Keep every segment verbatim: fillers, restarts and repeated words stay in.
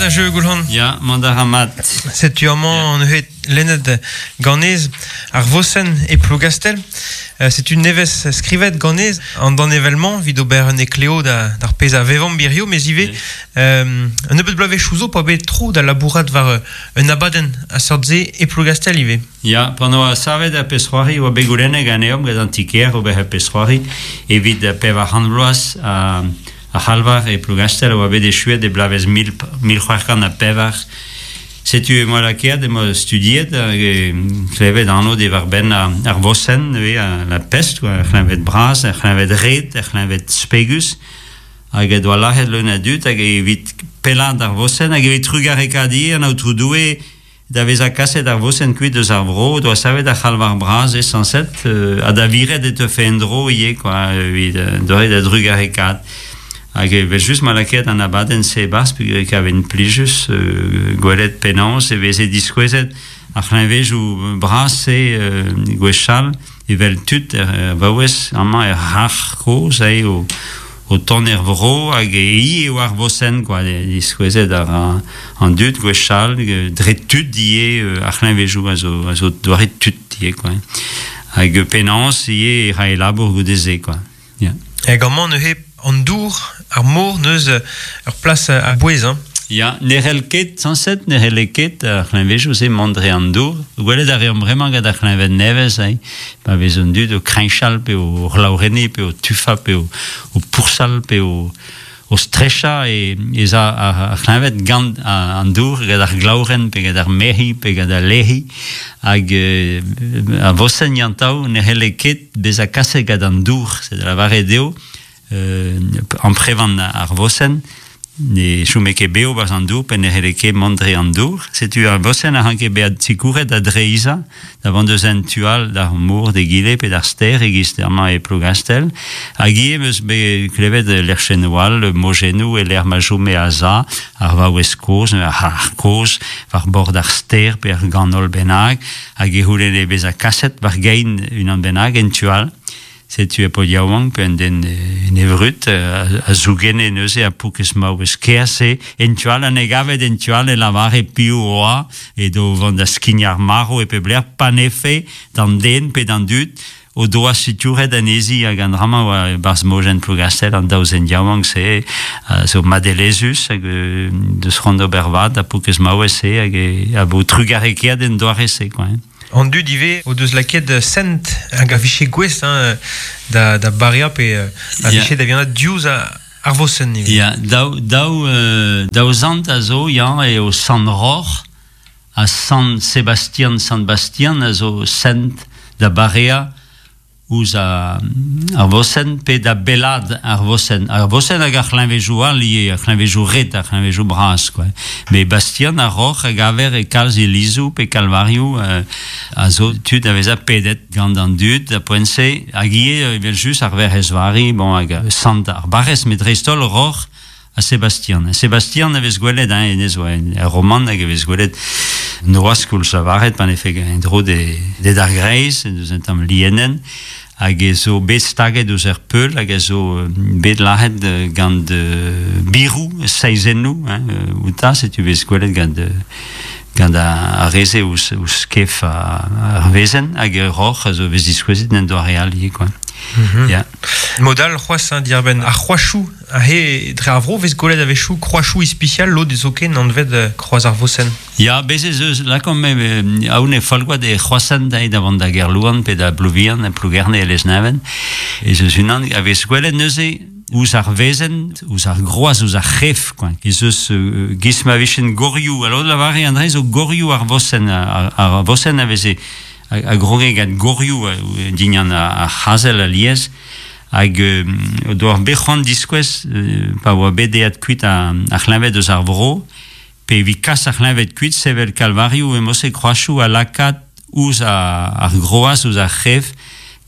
Mat a jeu goulhan. Ya, mont a ra mat. Setu amañ an neuze lennet ganez ar vosenn e Plougastel. Euh, setu nevez skrivet ganez an dan evelmañ vid ober un ekleo da, d'ar pezh a vevan birio, mez ivez euh, un nebeut bloavezh zo pa bet tro da labourat war un abadenn a seurt se e Plougastel ivez. Ya, pan oa savet ar pezh c'hoari oa bet goulennet ganeomp gant an ti-kêr ober ar pezh c'hoari evit pevar c'hant vloaz a, a c'halvar e Plougastel oa bet echuet e bloavezh mil, mil c'hwec'h kant ha pevar. Setu e moa lakaet, e moa studiet hag e klevet anv diwar-benn ar, ar vosenn, neuze, a, la pest, ar c'hleñved bras, ar c'hleñved red, ar c'hleñved spegus, hag e doa lac'het leun a dud hag evit pellaat ar vosenn, hag evit trugarekaat ivez an Aotrou Doue da vezañ kaset ar vosenn kuit eus ar vro, doa savet ar c'halvar bras e sañset, euh, ha da viret e teufe en-dro ivez, quoi, evit euh, doare da drugarekaat. Hag evel just ma lakaet an abadenn se e-barzh peogwir e kaven plijus euh, gwelet penaos e veze diskouezet ar c'hleñvedoù bras-se euh, gwechall evel tud er, er vaouez amañ er c'harr kozh ae o, o tont er vro hag e hi eo ar vosenn quoi, diskouezet ar an dud gwechall dre tud ivez ar c'hleñvedoù a zo, a zo doare tud ivez quoi. Hag penaos ivez e rae labour goude-se quoi. Ya. Hag amañ neuze an dour, ar mor neus ur plas a bouez, hein. Ya, ne c'hell ket, sañset, ne c'helle ket ar c'hleñvedoù-se mont dre an dour. Gwelet a reomp bremañ gant ar c'hleñved nevez, hein, pa vez an dud o kriñchal pe o c'hlaourenniñ pe o tufañ pe o, o poursal pe o, o strechañ e, ez a ar, ar c'hleñved gant an dour, gant ar glaourenn pe gant ar mec'hi pe gant al lec'hi hag euh, ar vosenn yantav ne c'helle ket bezañ kaset gant an dour, c'est da lavaret eo, euh, amprevan ar vosenn, ne chome ket bev barzh an dour pe ne c'helle ket mont dre an dour. Setu ar vosenn a ranke bezañ sikouret da dreizhañ, da vont deus un tu all d'ar mor d'egile pe d'ar stêr e-giz amañ e Plougastel. Hag ivez 'm eus bet klevet lec'hennoù all, mojennoù e lec'h ma chome a-za, ar vaouez kozh, ar c'harr kozh, war bord ar stêr pe ar ganol bennak, hag e c'houlenne bezañ kaset war gein unan bennak en tu all. Setu e paotr yaouank pe un den en e vrud a, a zougenne neuze ar paourkaezh maouez kaezh-se en tu all an e gavet en tu all e lavare piv oa edo vont da skignañ ar marv e pep lec'h panefe d'an den pe d'an dud o doa sikouret anezhi hag an dra-mañ oa barzh mojenn Plougastel an daou zen yaouank-se a zo madelezhus hag euh, deus c'hoant d'ober vad da paourkaezh maouez-se hag e, a vo trugarekaet en doare-se quoi. Hein. An dud ivez o deus lakaet sent hag a vije gouest hein, da, da bareañ pe a vije da vihanat diouzh ar vosenn ivez. Ya, daou, daou, euh, daou zant a zo, ya, eo Sant Roc'h ha Sant Sebastian, Sant Bastian a zo sent da bareañ ouzh a, ar vosenn pe da bellaat ar vosenn. Ar vosenn hag ar c'hleñvedoù all ivez, ar c'hleñvedoù red, ar c'hleñvedoù bras, quoi. Met Bastian ar Roc'h a gaver e kalz ilizoù pe kalvarioù euh, a zo tud a vezañ pedet gant an dud da poent-se hag ivez evel just ar Werc'hez Vari, bon, hag sant ar barrez, met dreist-holl Roc'h ha Sebastian. Sebastian a vez gwelet, hein, hennezh oa er romant hag a vez gwelet noazh koulz lavaret pan efe en-dro de, de d'ar greiz, deus un tamm lienenn, hag e zo bet staget ouzh ar peul, hag a zo bet lac'het gant biroù, seizennoù, hein, outa, setu vez gwelet gant, gant ar reze ouzh, ouzh kef ar wezenn, hag ur roc'h a zo vez diskouezet en doare all ivez, quoi. Mm-hmm. Ya. Modal c'hoazh hein, diarbenn ar c'hroachoù ahe dre ar vro vez gwelet a-wechoù kroachoù ispisial lod zoken anvet kroaz ar vosenn. Ya, bez ez eus lakaomp me aon e Folgoad e c'hroazhent da da vont da Gerlouan pe da Blouvian, Plougerne e Lesneven. Ez eus unan a vez gwelet neuze ouzh ar wezenn, ouzh ar groaz, ouzh ar c'hef, quoi. Ez eus euh, giz ma vichen gorioù, alors lavare an dre zo gorioù ar vosenn, ar, ar vosenn a veze a, a groge gant gorioù dignan ar c'hazel alies, hag euh, doa bet c'hoant diskouez euh, pa oa bet eat kuit ar, ar c'hleñved eus ar vro, pe evit kas ar c'hleñved kuit sevel kalvarioù e mose kroachoù a lakaat ouzh ar, ar groaz, ouzh ar c'hef,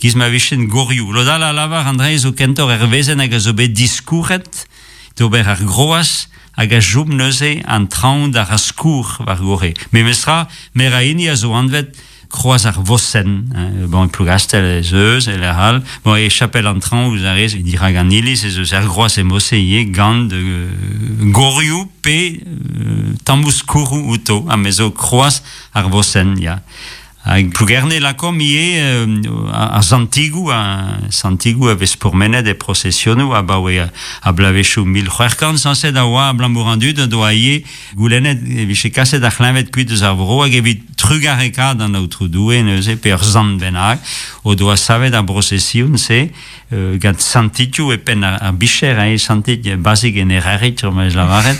giz ma vichen gorioù. Lod all a lavar an dre zo kentoc'h er wezenn hag a zo bet diskouret d'ober ar groaz hag a chom neuze an traoñ d'ar skourr war gorre. Memestra, mer a hini a zo anvet kroaz ar vosenn, hein, bon, e Plougastel ez eus, e lec'h all, bon, e chapel an traoñ ouzh ar rez, dirak an iliz ez eus ar groaz e mose ivez gant euh, gorioù pe euh, Tammoù skourroù outo, ha me zo kroaz ar vosenn, ya. Hag Plougerne lakom ivez euh, ar santigoù, a santigoù a vez pourmenet e prosesionoù abaoe a blavezhioù mil c'hwec'h kant sañset a oa abalamour an dud doa ivez goulennet e vije kaset ar c'hleñved kuit eus ar vro hag evit trugarekaat an aotrou Doue neuze pe ur sant bennak o doa savet ar brosesion-se euh, gant santitioù e penn ar, ar bicher, hein, santit bazik en errerit, ma ez lavaret,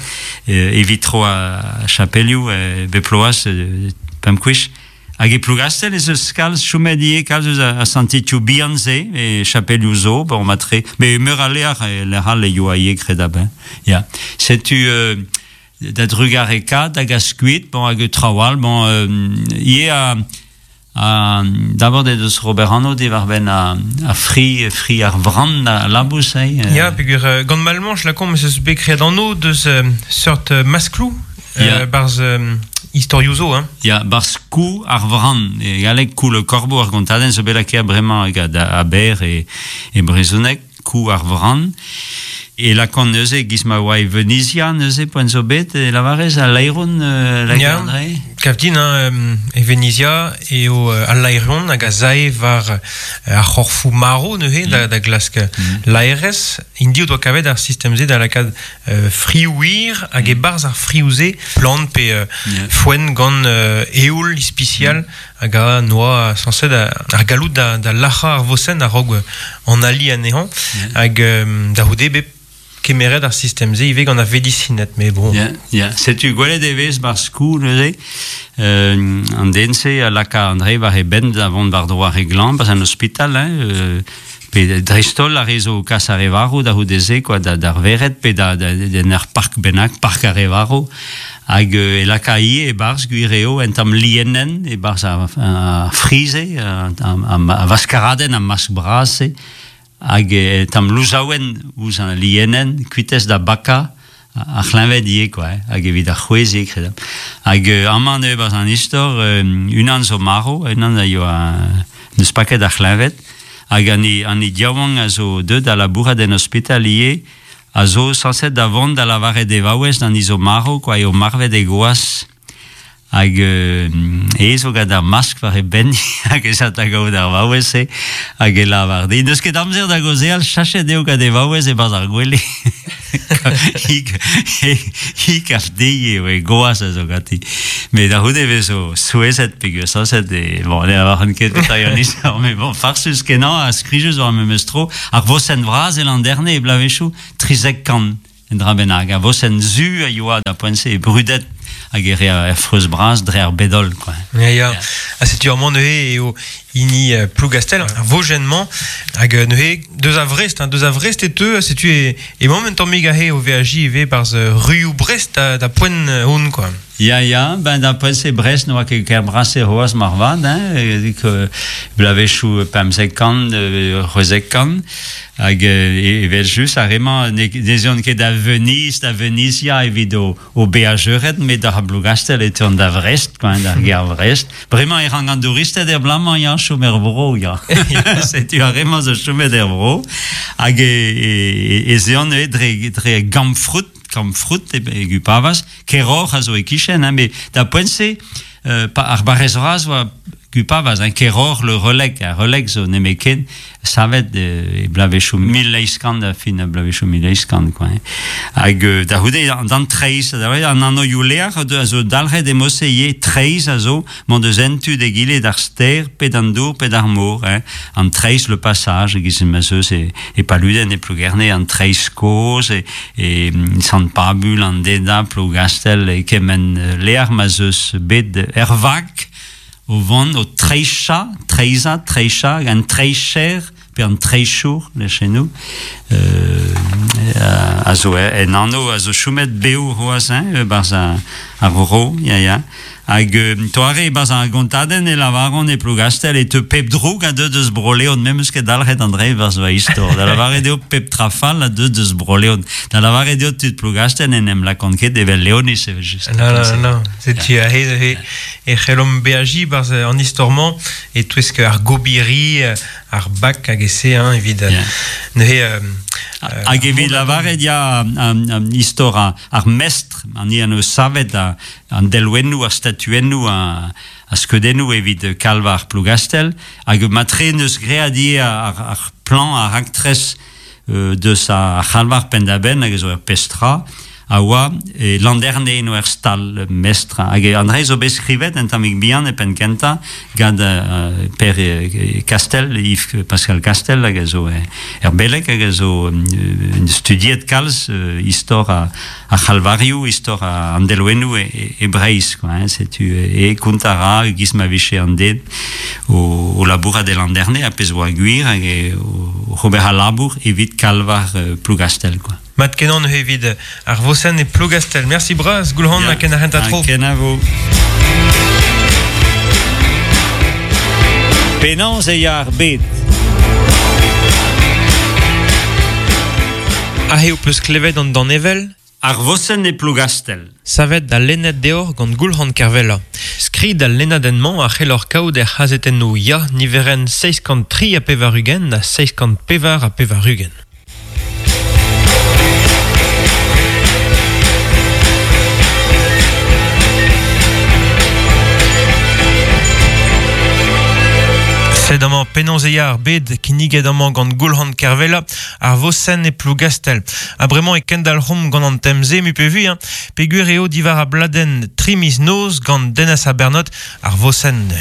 euh, evit tro a chapelioù euh, beploaz euh, pemp kwech. Hag e Plougastel ez eus kalz chomet ivez kalz eus a, a santitioù bihan-se e chapelioù zo, bon, matre, me meur a leac'h e lec'h all e yoa ivez kredabl. Ya. Setu euh, da drugarekaat hag a skuit, bon, hag traoù all, bon, euh, ivez a, a, d'abord e deus Robert Anno diwar-benn a, a fri, fri ar vran a labous, hein, euh. Ya, peogwir euh, gant Malmanche, lakomp ez eus bet graet anv deus euh, seurt euh, maskloù, euh, Ya. barzh euh, istorioù zo, hein. Ya, barzh kou ar vran, e galleg kou le corbeau ar gontadenn zo bet lakaet bremañ gant Aber e, e brezhoneg, kou ar vran. E lakan neuze, giz ma oa e Venizia neuze, poent zo bet, e lavarez al laeron euh, la Ya. André? Kav din, hein, euh, e Venizia eo euh, al laeron hag a zae war euh, ar c'horfoù maro neuze da, da glask mm. laerez. Int o doa kavet ar sistem-se da lakaat euh, frioù-wir hag e-barzh ar frioù-se plant pe euh, Ya. foenn gant euh, eoul ispisial hag a noa sañset ar galloud da, da lac'hañ ar vosenn a-raok an ali anezhañ hag euh, da c'houde bet kemeret ar sistem-se ivez gant ar vedisined, mais bon. Ya, ya. Setu gwelet e vez barzh kou neuze, euh, an den-se a laka André war e benn da vont war dro ar re glañv, barzh an ospital, hein, euh, pe dreist-holl ar re zo kas ar re varv da c'houde-se, quoi, da, d'ar vered, pe da, da, da, ur park bennak, park ar re varv, hag euh, e laka ivez e-barzh gwir eo un tamm lienenn, e-barzh ar, ar frize, ar, ar, ar vaskaradenn, ar mask bras-se, hag e tamm louzaouenn ouzh an lienenn, kuitez da baka, ar c'hleñved ivez, quoi, hein, hag evit ar c'hwezh ivez, kredabl. Hag euh, amañ neuze barzh an istor, euh, unan zo marv, unan a yoa neus paket ar c'hleñved, hag an i, an i diaouank a zo deut da labourat en ospital ivez, a zo sañset da vont da lavaret e vaouez d'an i zo marv, quoi, eo marvet e gwaz. Hag euh, e zo gant ar mask war e benn, hag ez a da gaout ar vaouez-se, hag e lavar di. N'eus ket amzer da gaozeal, chachet eo gant e vaouez e-barzh ar gwele. Hi, hi, hi kav dezhi eo e gwaz a zo ganti. Met da c'houde vez zo souezhet peogwir sañset e... Bon, ne lavaran ket petra eo an istor, mais bon, farsus kenañ ha skrijus war memes tro. Ar vosenn vras e Landerne e blavezhioù trizek kant en dra bennak. Ar vosenn zu a yoa da poent-se e brudet hag e rea er freuz bras dre ar bedol, quoi. Ya, ya. Ha setu amañ neuze eo hini euh, Plougastel, ar vojenn-mañ, hag euh, neuze deus a Vrest, hein, deus a Vrest e teu, setu e, emaomp un tammig aze o veajiñ ivez barzh euh, ruioù Brest da, da poent euh, hon, quoi. Ya, ya, ben da poent-se Brest n'oa ket ker bras e c'hoazh marvat, hein, e, ke blavezhioù pemzek kant, euh, c'hwezek kant, hag euh, evel just ar re-mañ ne, ne zeuont ket da Venise, da Venizia evit o, o beajeured, met da Blougastel e teuont da Vrest, quoi, d'ar gêr Vrest. Bremañ e rank an douristed er blamañ, ya, chom er vro, ya. Setu ar re-mañ zo chomet er vro, hag e, e, e zeuont neuze dre, dre Gamfrout, Kamfrout e, e Gupavaz, Keror a zo e kichen, hein, met da poent-se, euh, pa, ar barrez vras oa Gupavaz, hein, Keror, le Releg, ar Releg zo nemeken, savet euh, e blavezhioù mil eizh kant, da fin a blavezhioù mil eizh kant, quoi, hein. Hag euh, da c'houde, d'an treizh, da c'houde, an anv leac'h a zo dalc'het e mose ivez treizh a zo, mont deus en tu d'egile d'ar ster, pe d'an dour, pe d'ar mor, hein. An treizh le passage, giz ma zeus e, e Paluden, e Plougerne, an treizh kozh, e, e Sant Pabul, an Deda, Plougastel, e kement leac'h ma zeus bet er vag, o vont o treizhañ, treizhañ, treizhañ, an treizher, pe an treizhour, lechennoù, euh, a zo en anv a zo chomet bev c'hoazh, hein, barzh ar, ar vro, ya, ya. Hag euh, toare barzh ar gontadenn e lavaron e Plougastel e teu pep droug a deu deus Bro-Leon, me'm eus ket dalc'het an dre barzh va istor. Da lavaret eo pep trafal a deu deus Bro-Leon. Da lavaret eo tud Plougastel en em lakont ket evel Leonis evel just. Non, non, non, setu aze neuze e c'hellomp beajiñ barzh an istor-mañ e touesk ar gobiri, ar bak hag e se, hein, evit Ya. neuze euh, Hag evit lavaret ya an istor ar mestr, an i an eus savet an delwennoù, ar statuennoù, a skeudennoù evit kalvar Plougastel, hag matre neus great ivez ar, ar plan, ar raktres euh, deus ar c'halvar penn-da-benn hag zo ur pestra, a oa e Landerne eno er stal mestr. Hag an dre zo bet skrivet en tammig bihan e penn kentañ gant uh, Per Castel, Yves Pascal Castel hag a zo er beleg hag a zo uh, studiet kalz uh, istor a, a c'halvarioù, istor a an delwennoù e, e, e Breizh, quoi, hein, setu e kont a ra giz ma vije an den o, o labourat e Landerne a pezh oa gwir hag e, o ober a labour evit kalvar uh, Plougastel, quoi. Mat kenan evit ar vosenn e Plougastel. Merci bras, Goulc'han, ha ken ar hent a tro. Kenavo. Penaos e ya ar bed. Aze ho peus klevet an danevel Ar vosenn e Plougastel. Savet da lennet deoc'h gant Goulc'han Kervella. Skrid al lennadenn-mañ a c'helloc'h kaout er c'hazetennoù Ya niverenn seizh kant tri ha pevar-ugent ha seizh kant pevar ha pevar-ugent. Sed amañ penaos e ya ar bed kinniget amañ gant Goulc'han Kervella ar vosenn e Plougastel. Ha bremañ e kendalc'homp gant an temze mu pe vui, hein, peogwir eo diwar a bladenn tri miz noz gant Denez Abernot ar vosenn.